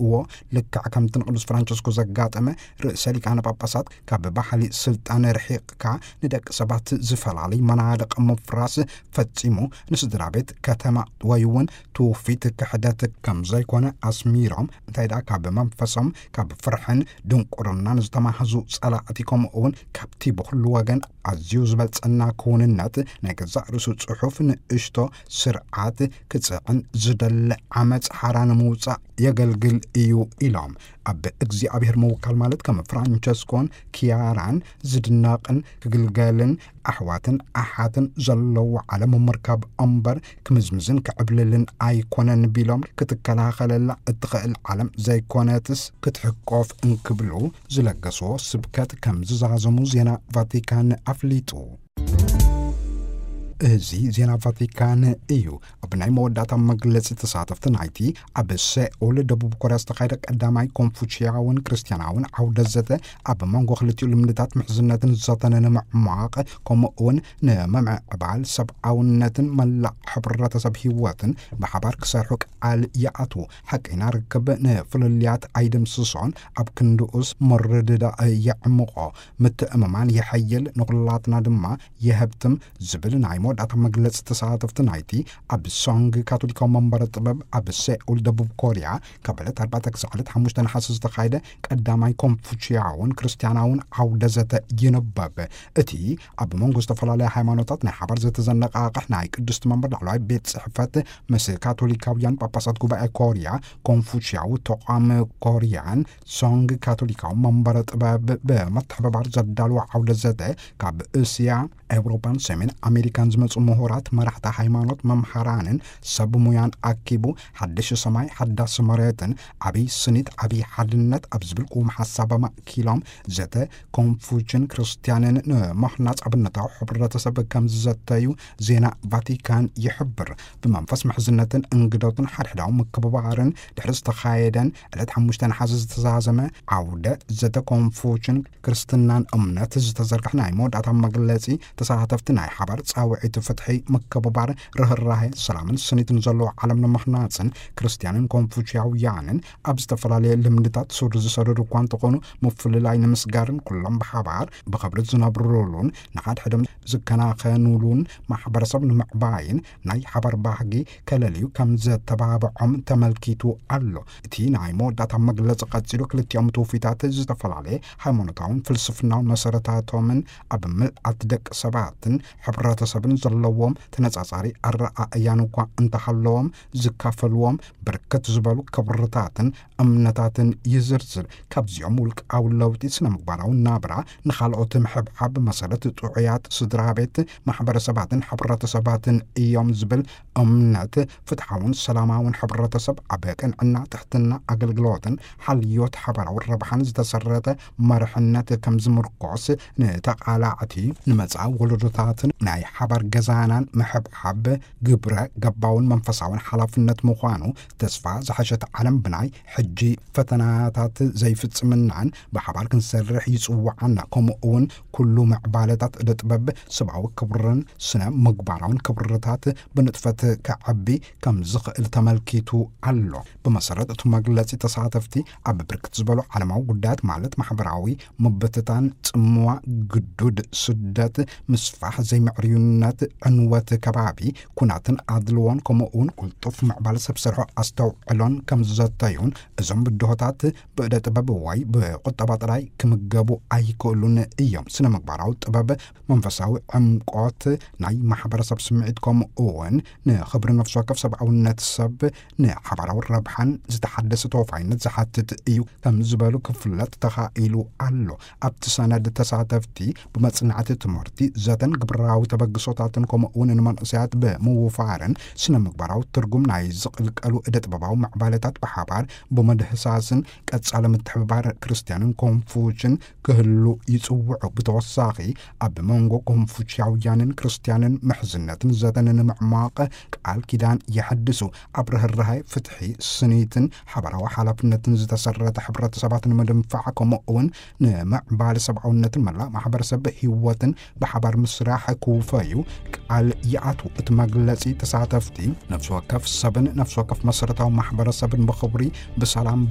እዎ፣ ልክዕ ከምቲ ንቅዱስ ፍራንቸስኮ ዘጋጠመ፣ ርእሰ ሊቃነ ጳጳሳት ካብ ባህሊ ስልጣን ርሒቕካ ንደቂ ሰባት ዝፈላለይ መናድቕ ምፍራስ ፈጺሙ ንስድራ ቤት፣ ከተማ ወይ እውን ትውፊት ክሕደት ከም ዘይኮነ ኣስሚሮም፣ እንታይ ደኣ ካብ መንፈሶም ካብ ፍርሕን ድንቁርናን ዝተማህዙ ጸላእቲ፣ ከምኡ እውን ካብቲ ብኹሉ ወገን ኣዝዩ ዝበልጸና ክውንነት ናይ ገዛእ ርእሱ ጽሑፍ ንእሽቶ ስርዓት ክጽዕን ዝደሊ ዓመጽ ሓራ ንምውጻእ የገልግል እዩ ኢሎም። ኣብ እግዚኣብሔር ምውካል ማለት ከም ፍራንቸስኮን ኪያራን ዝድነቕን ክግልገልን ኣሕዋትን ኣሓትን ዘለዎ ዓለም ምርካብ እምበር ክምዝምዝን ክዕብልልን ኣይኮነን ቢሎም፣ ክትከላኸለላ እትኽእል ዓለም ዘይኮነትስ ክትሕቆፍ እንክብሉ ዝለገስዎ ስብከት ከም ዝዛዘሙ ዜና ቫቲካን ኣፍሊጡ። እዚ ዜና ቫቲካን እዩ። ኣብ ናይ መወዳእታ መግለጺ ተሳተፍቲ ናይቲ ኣብ ሴኡል ደቡብ ኮርያ ዝተኻየደ ቀዳማይ ኮንፉችያውን ክርስትያናውን ዓውደ ዘተ ኣብ መንጎ ክልቲኡ ልምድታት ምሕዝነትን ዘተን ንምዕሟቕ፣ ከምኡ እውን ንምምዕባል ሰብኣውነትን መላእ ሕብረተሰብ ህይወትን ብሓባር ክሰርሑ ቃል ይኣትዉ። ሓቀይና ርክብ ንፍልልያት ኣይድምስሶን፣ ኣብ ክንድኡስ ምርድዳእ የዕምቖ፣ ምትእምማን የሐይል፣ ንኹላትና ድማ የህብትም ዝብል ናይ መወዳእታ መግለጺ ተሳተፍቲ ናይቲ ኣብ ሶንግ ካቶሊካዊ መንበረ ጥበብ ኣብ ሴኡል ደቡብ ኮርያ ካብ ዕለት ኣርባዕተ ክሳዕ ዕለት ሓሙሽተ ነሓሰ ዝተኻየደ ቀዳማይ ኮንፉችያውን ክርስትያናውን ዓውደ ዘተ ይንበብ። እቲ ኣብ መንጎ ዝተፈላለያ ሃይማኖታት ናይ ሓባር ዘተዘነቃቕሕ ናይ ቅድስቲ መንበር ላዕለዋይ ቤት ጽሕፈት ምስ ካቶሊካውያን ጳጳሳት ጉባኤ ኮርያ፣ ኮንፉችያዊ ተቋም ኮርያን ሶንግ ካቶሊካዊ መንበረ ጥበብ ብምትሕብባር ዘዳለዎ ዓውደ ዘተ፣ ካብ እስያ፣ ኤውሮጳን ሰሜን ኣሜሪካን ዝመጹ ምሁራት፣ መራሕቲ ሃይማኖት፣ መምሃራንን ሰብ ሙያን ኣኪቡ፣ ሓድሽ ሰማይ ሓዳስ መሬትን ዓብይ ስኒት ዓብይ ሓድነት ኣብ ዝብል ቅውም ሓሳብ ኣማእኪሎም ዘተ ኮንፉችን ክርስትያንን ንምህናጽ ኣብነታዊ ሕብረተሰብ ከም ዝዘተዩ ዜና ቫቲካን ይሕብር። ብመንፈስ ምሕዝነትን እንግዶትን ሓድሕዳዊ ምክብባርን ድሕሪ ዝተኻየደን ዕለት ሓሙሽተ ነሓሰ ዝተዛዘመ ዓውደ ዘተ ኮንፉችን ክርስትናን እምነት ዝተዘርግሐ ናይ መወዳእታ መግለጺ፣ ተሳተፍቲ ናይ ሓባር ጻውዒት ፍትሒ፣ ምክብባር፣ ርህራሄ፣ ሰላምን ስኒትን ዘለዎ ዓለም ንምኽናጽን ክርስትያንን ኮንፉችያውያንን ኣብ ዝተፈላለየ ልምድታት ሱር ዝሰደዱ እኳ እንተኾኑ፣ ምፍልላይ ንምስጋርን ኩሎም ብሓባር ብኽብሪ ዝነብሩሉን ንሓድሕዶም ዝከናኸኑሉን ማሕበረሰብ ንምዕባይን ናይ ሓባር ባህጊ ከለልዩ ከም ዘተባብዖም ተመልኪቱ ኣሎ። እቲ ናይ መወዳእታ መግለጺ ቀጺሉ፣ ክልቲኦም ትውፊታት ዝተፈላለየ ሃይማኖታውን ፍልስፍናውን መሰረታቶምን ኣብ ምልኣት ደቂ ሰባትን ሕብረተሰብን ዘለዎም ተነጻጻሪ ኣረኣእያን እኳ እንተሃለዎም፣ ዝካፈልዎም ብርክት ዝበሉ ክብርታትን እምነታትን ይዝርዝር። ካብዚኦም ውልቃዊ ለውጢ ስነ ምግባራዊ ናብራ፣ ንኻልኦት ምሕብሓብ፣ መሰረት ጥዑያት ስድራ ቤት፣ ማሕበረሰባትን ሕብረተሰባትን እዮም ዝብል እምነት፣ ፍትሓውን ሰላማውን ሕብረተሰብ ኣብ ቅንዕና፣ ትሕትና፣ ኣገልግሎትን ሓልዮት ሓባራዊ ረብሓን ዝተሰረተ መርሕነት ከም ዝምርኮስ፣ ንተቓላዕቲ፣ ንመጻኢ ወለዶታትን ናይ ሓባር ገዛናን ምሕብሓብ ግብረ ገባውን መንፈሳውን ሓላፍነት ምዃኑ፣ ተስፋ ዝሓሸት ዓለም ብናይ ሕጂ ፈተናታት ዘይፍጽምናን ብሓባር ክንሰርሕ ይጽውዓና። ከምኡ እውን ኩሉ ምዕባለታት እደ ጥበብ፣ ሰብኣዊ ክብርን ስነ ምግባራውን ክብርታት ብንጥፈት ከዐቢ ከም ዝኽእል ተመልኪቱ ኣሎ። ብመሰረት እቲ መግለጺ፣ ተሳተፍቲ ኣብ ብርክት ዝበሉ ዓለማዊ ጉዳያት፣ ማለት ማሕበራዊ ምብትታን፣ ጽምዋ፣ ግዱድ ስደት፣ ምስፋሕ ዘይምዕርዩነት፣ ዕንወት ከባቢ፣ ኩናትን ኣድልዎን፣ ከምኡ እውን ቅልጡፍ ምዕባለ ሰብ ሰርሖ ኣስተውዕሎን ከም ዝዘተዩን፣ እዞም ብድሆታት ብእደ ጥበብ ወይ ብቁጠባ ጥራይ ክምገቡ ኣይክእሉን እዮም። ስነ ምግባራዊ ጥበብ መንፈሳዊ ዕምቆት፣ ናይ ማሕበረሰብ ስምዒት፣ ከምኡ እውን ንኽብሪ ነፍሲ ወከፍ ሰብኣውነት ሰብ፣ ንሓባራዊ ረብሓን ዝተሓደሰ ተወፋይነት ዝሓትት እዩ ከም ዝበሉ ክፍለጥ ተኻኢሉ ኣሎ። ኣብቲ ሰነድ፣ ተሳተፍቲ ብመጽናዕቲ፣ ትምህርቲ፣ ዘተን ግብራዊ ተበግሶታትን፣ ከምኡ እውን ንመንእሰያት ብምውፋርን ስነ ምግባራዊ ትርጉም ናይ ዝቕልቀሉ እደ ጥበባዊ ምዕባለታት ብሓባር ብምድህሳስን ቀጻሊ ምትሕብባር ክርስትያንን ኮንፉችን ክህሉ ይጽውዑ። ብተወሳኺ፣ ኣብ መንጎ ኮንፉችያውያንን ክርስትያንን ምሕዝነትን ዘተን ንምዕማቕ ቃል ኪዳን የሐድሱ። ኣብ ርህራሄ፣ ፍትሒ፣ ስኒትን ሓባራዊ ሓላፍነትን ዝተሰረተ ሕብረተሰባት ንምድንፋዕ፣ ከምኡ እውን ንምዕባለ ሰብኣውነትን መላእ ማሕበረሰብ ህይወትን ብሓባር ምስራሕ ክውፈዩ ቃል ይኣትዉ። እቲ መግለጺ፣ ተሳተፍቲ ነፍሲ ወከፍ ሰብን ነፍሲ ወከፍ መሰረታዊ ማሕበረሰብን ብኽብሪ፣ ብሰላም፣